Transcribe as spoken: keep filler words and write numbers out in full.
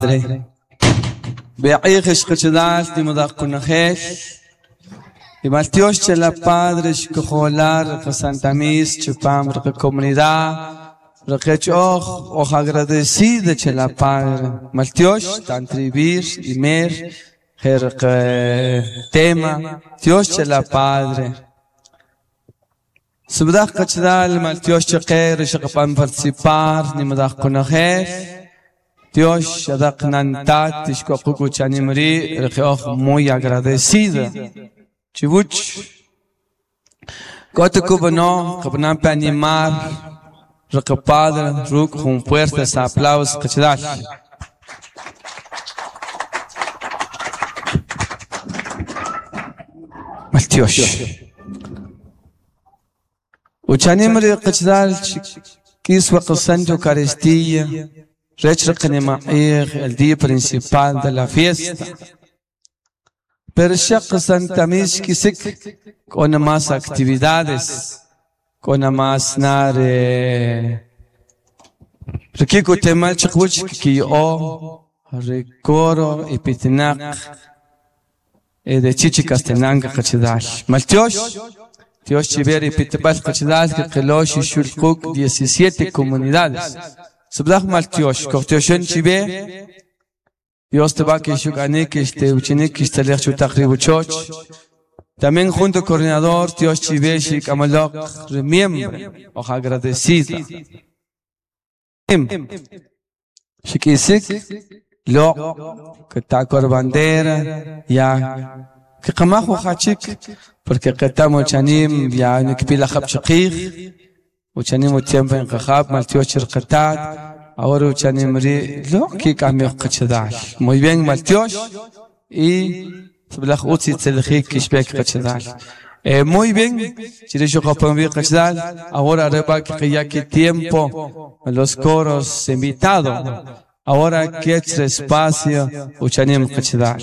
Padre. Be'ij xqachadal nimudaq kunajel. Y maltiox la Padre xkojolar Santa Mis chupam rqa comunidad. Rqech oj oj agradecida che la Padre. Maltiox tantribir y mer jerq tema Dios che la Padre. Subdaq qachdal maltiox cheqer xaqpan participar nimudaq kunajel. Dios shadak nantat tishkokuku chanimri rqeoj muy agradecida. Chibuch Kote kubano kabnam pe animar rqa Padre ruk jun fuertes aplausos qachdal. Maltiox. Uchanimri qachdal kiswa qsanto Eucaristía. Rech el día principal de la fiesta. Pero Santa Mis kisik con más actividades, con más nare. Rikiko temal chikuch ki o recoro y pitinak de Chichi Castenanga qachdal. Maltiox Dios chiver y pitibal qachdal que qelosh y shulkuk diecisiete comunidades. Subdach maltiox, kortioxen chive, Dios te va que shuganik, este uchinik, este lech chuch. También junto coordinador, Dios chive, shik amalok, remiembre, oja agradecida. Shikisik, lo, que ta bandera, ya, que kamajo hachik, porque que tamo chanim, ya, nikpila khab chaqir. Uchanim tiempo en qajab maltiox rqatat ahora uchanim ri lo que cambio qachadal. Muy bien maltiox y sublaj utsi tselji kishbek qachadal. Eh, muy bien, chirisho qapam bi qachadal. Ahora reba que ya que tiempo los coros invitado. Ahora que espacio uchanim qachadal.